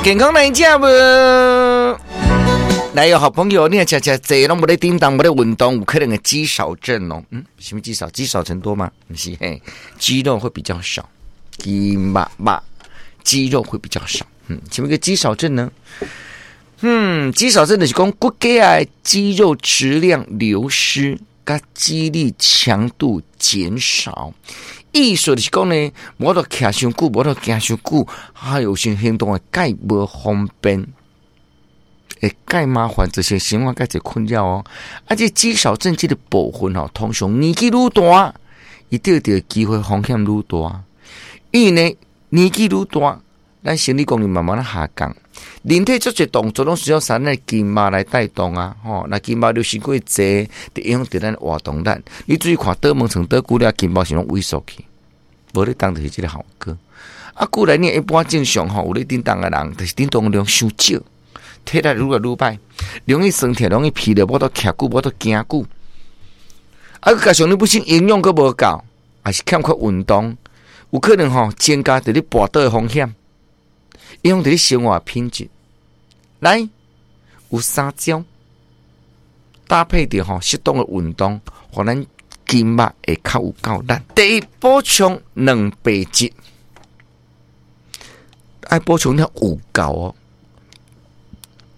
健康來食無？來有好朋友，你若食食濟攏無咧振動，無咧運動，有可能會肌少症哦。嗯，什麼肌少？積少成多嗎？毋是嘿，肌肉會比較少，肌肉肉，肌肉會比較少。嗯，什麼叫肌少症呢？嗯，肌少症就是講骨骼的肌肉質量流失，佮肌力強度減少。意思就是講呢，無法度徛傷久，無法度行傷久，還有時行動會蓋無方便，會蓋麻煩，這些生活蓋濟困擾哦。啊，這肌少症這个部分吼，通常年紀愈大，伊得著機會風險愈大。因為呢，年紀愈大，咱生理功能慢慢下降，人體足濟動作攏需要咱的筋肉來帶動啊，吼，若筋肉流失過濟，就影響著咱活動力。你注意看，倒門床倒久了，筋肉是攏萎縮去，無咧動就是這个效果。啊，過來你一般正常吼，有咧振動的人，就是振動量傷少，體力愈來愈歹，容易酸痛，容易疲勞，無法度徛久，無法度行久。啊，加上你本身營養閣無夠，還是欠缺運動，有可能吼增加著你跋倒的風險。影響著你生活品質。來，有三招搭配著吼適當的運動，予咱筋肉會較有夠力。第一，補充蛋白質，愛補充了有夠哦。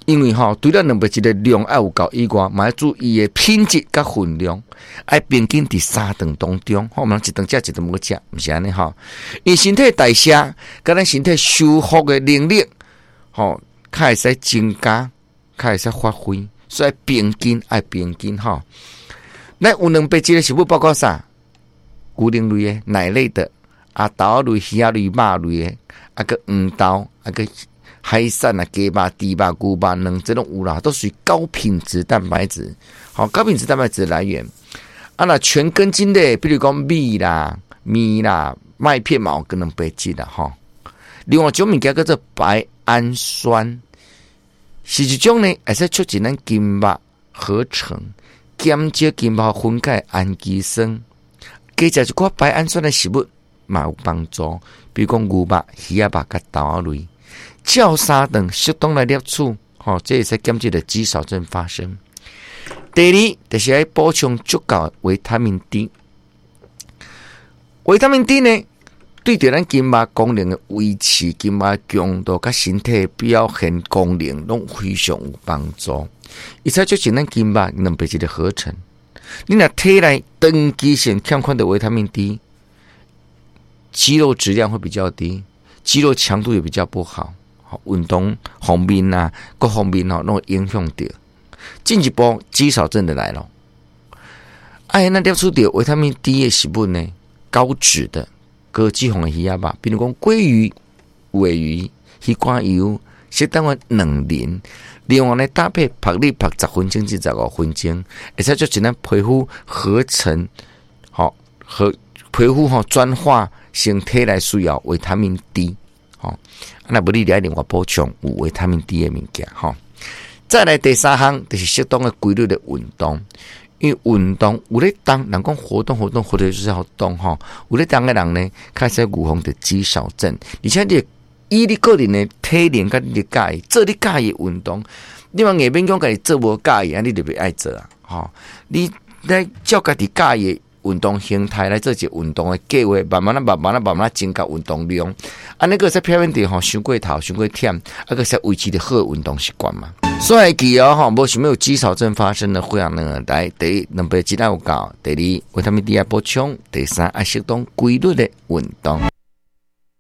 因為吼，除了蛋白質的量愛有夠以外，嘛愛注意的品質佮分量，愛平均佇三頓當中，吼，毋通一頓食一頓無食，毋是按呢吼。因身體代謝，佮咱身體修復的能力，吼，較會使增加，較會使發揮，所以平均愛平均吼。咱有蛋白質的食物包括啥？牛奶類的、奶類的，啊，豆類、魚仔類、肉類的，啊，閣黃豆，啊，閣海產啊，雞肉、豬肉、牛肉、卵，這攏有啦，都屬於高品質蛋白質。好，高品質蛋白質來源。啊，若全根莖類，比如講米啦、麵啦、麥片嘛，有高蛋白質啦，吼。另外一種物件叫做白氨酸，是一種呢，會使促進咱筋肉合成，減少筋肉分解氨基酸。加食一寡白氨酸的食物嘛有幫助，比如講牛肉、魚仔肉佮豆仔類。照三頓適當來攝取，吼，這會使減少著肌少症發生。第二，就是愛補充足夠維他命 D。維他命 D 呢，對著咱筋肉功能的維持、筋肉強度佮身體表現功能，攏非常有幫助。伊使促進咱筋肉蛋白質的合成。你若體內長期性欠缺著維他命 D，肌肉質量會比較低，肌肉強度也比較不好。運動方面啊，各方面吼，攏會影響著。進一步肌少症就來咯。哎，咱攝取著維他命 D 的食物呢，高脂的、高脂肪的魚仔肉，比如講鮭魚、鮪魚、魚肝油，適當的卵磷，另外呢搭配曝日曝10分鐘至15分鐘，會使促進咱皮膚合成，吼和皮膚吼轉化成體內需要維他命 D。吼，若無你愛另外補充有維他命 D 的物件，吼。再來第三項就是適當的規律的運動，因為運動有咧動，人講活動活動活動就是要動吼，有咧動的人呢，較會使預防著肌少症，而且你以你個人的體能佮你佮意做你佮意的運動，你嘛硬勉強家己做無佮意，按呢你就袂愛做啊，吼。你來照家己佮意的運動形態來做一個運動的計劃，慢慢仔、慢慢仔、慢慢仔增加運動量，按呢閣會使避免著吼傷過頭、傷過忝，啊閣會使維持著好的運動習慣嘛。所以記哦吼，無想欲有肌少症發生的會啊呢，來第一，蛋白質愛有夠；第二，維他命 D 愛補充；第三，愛適當規律的運動。